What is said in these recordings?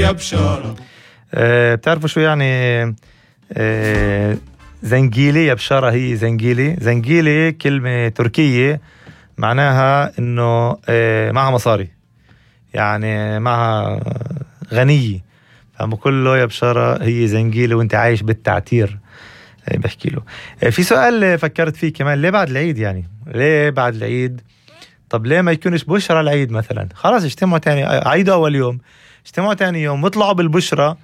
يا بشارة. بتعرفوا شو يعني زنجيلي يا بشارة؟ هي زنجيلي كلمة تركية معناها إنه معها مصاري، يعني معها غنية، فبقول له يا بشارة هي زنجيلي وانت عايش بالتعتير، بحكي له. في سؤال فكرت فيه كمان، ليه بعد العيد؟ يعني ليه بعد العيد؟ طب ليه ما يكونش بشرة العيد مثلا؟ خلاص اجتمعوا تاني، عيد أول يوم، اجتمعوا تاني يوم واطلعوا بالبشرة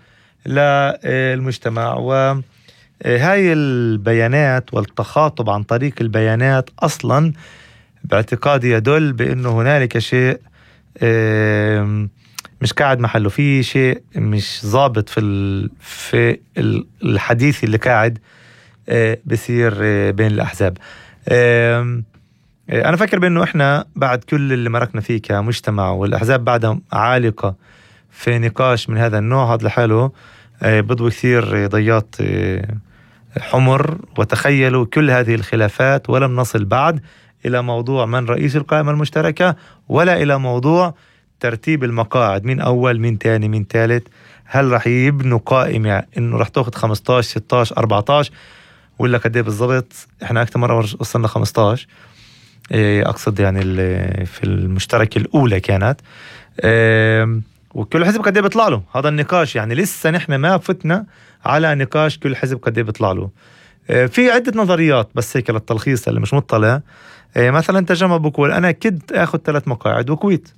للمجتمع. وهاي البيانات والتخاطب عن طريق البيانات أصلا باعتقادي يدل بأنه هنالك شيء مش قاعد محله، في شيء مش ضابط في الحديث اللي قاعد بيصير بين الأحزاب. أنا فكر بأنه إحنا بعد كل اللي مركنا فيه كمجتمع والأحزاب بعدها عالقة في نقاش من هذا النوع، هذا لحاله بضوي كثير ضياط حمر. وتخيلوا كل هذه الخلافات ولم نصل بعد إلى موضوع من رئيس القائمة المشتركة، ولا إلى موضوع ترتيب المقاعد، مين أول مين تاني مين ثالث. هل رح يبنوا قائمة إنه رح تأخذ 15 16 14 ولا قديه بالضبط؟ إحنا أكثر مرة وصلنا 15، أقصد يعني في المشتركة الأولى كانت، وكل حزب قديه بيطلع له. هذا النقاش يعني لسه نحن ما فتنا على نقاش كل حزب قديه بيطلع له. في عدة نظريات بس هيك للتلخيص اللي مش مطلع. مثلا تجمع بقول أنا كنت أخذ 3 مقاعد وكويت،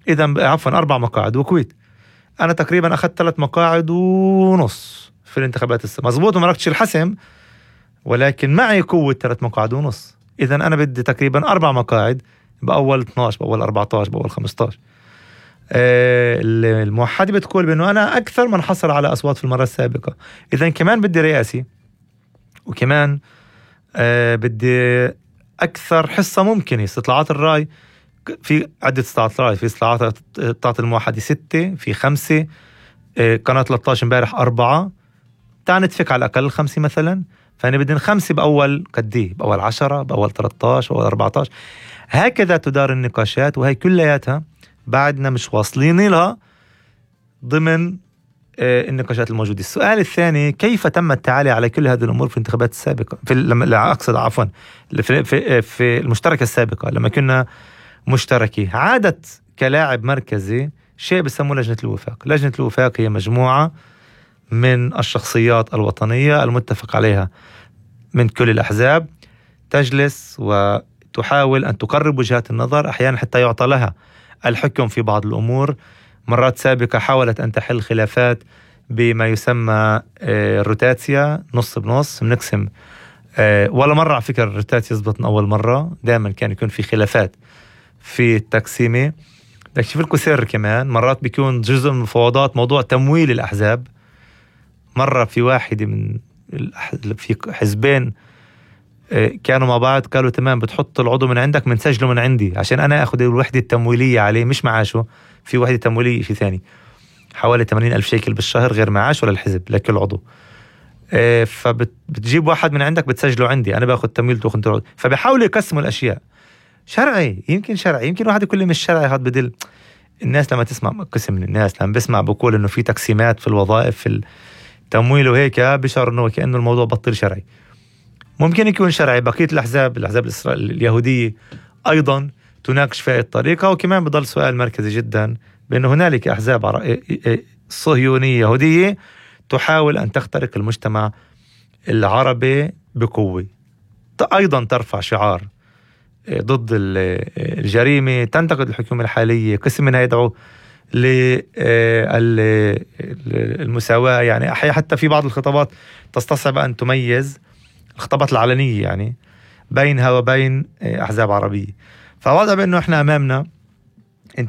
إذا عفوا 4 مقاعد وكويت، أنا تقريبا أخذت 3 مقاعد ونص في الانتخابات مزبوط، وما ركتش الحسم، ولكن معي قوة 3 مقاعد ونص. إذا أنا بدي تقريبا 4 مقاعد بأول 12 بأول 14 بأول 15. الموحدة بتقول بأنه أنا أكثر من حصل على أصوات في المرة السابقة، إذا كمان بدي رئاسي، وكمان بدي أكثر حصة ممكنة. استطلاعات الرأي في عدة استطلاعات رأي، في استطلاعات الموحدة 6، في 5، قناة 13 امبارح 4، تعال نتفق على الأقل 5 مثلا. فأنا بدي 5 بأول قديه، بأول 10، بأول 13، بأول 14. هكذا تدار النقاشات، وهي كلياتها بعدنا مش واصلين لها ضمن النقاشات الموجودة. السؤال الثاني، كيف تم التعالي على كل هذه الأمور في الانتخابات السابقة، أقصد عفوا في المشتركة السابقة لما كنا مشتركي؟ عادت كلاعب مركزي شيء بسموه لجنة الوفاق. لجنة الوفاق هي مجموعة من الشخصيات الوطنية المتفق عليها من كل الأحزاب، تجلس وتحاول أن تقرب وجهات النظر، أحيانا حتى يعطى لها الحكم في بعض الأمور. مرات سابقة حاولت أن تحل خلافات بما يسمى الروتاتسيا، نص بنص بنقسم، ولا مرة على فكرة الروتاتسيا يزبط من أول مرة، دائما كان يكون في خلافات في التقسيمة. بدك تشوف لكم سر كمان، مرات بيكون جزء من المفاوضات موضوع تمويل الأحزاب. مرة في واحدة من في حزبين كانوا مع بعض، قالوا تمام بتحط العضو من عندك منسجله من عندي عشان أنا أخذ الوحدة التمويلية عليه مش معاشه. في وحدة تمويلية في ثاني حوالي 80,000 شيكل بالشهر غير معاش ولا الحزب لكل عضو. فبتجيب واحد من عندك بتسجله عندي، أنا بأخذ تمويل تأخذ العضو. فبيحاولوا يقسموا الأشياء شرعي، يمكن شرعي، يمكن واحد يقول لي مش شرعي. هذا بدل الناس لما تسمع، قسم من الناس لما بسمع بقول إنه في تقسيمات في الوظائف في التمويل وهيك، بشعر إنه كأنه الموضوع بطل شرعي. ممكن يكون شرعي. بقية الأحزاب اليهودية أيضا تناقش في الطريقة. وكمان بضل سؤال مركزي جدا بأنه هنالك أحزاب صهيونية يهودية تحاول أن تخترق المجتمع العربي بقوة، أيضا ترفع شعار ضد الجريمة، تنتقد الحكومة الحالية، قسم منها يدعو للمساواة. يعني حتى في بعض الخطابات تستصعب أن تميز الخطابات العلنية يعني بينها وبين أحزاب عربية. فواضح بأنه إحنا أمامنا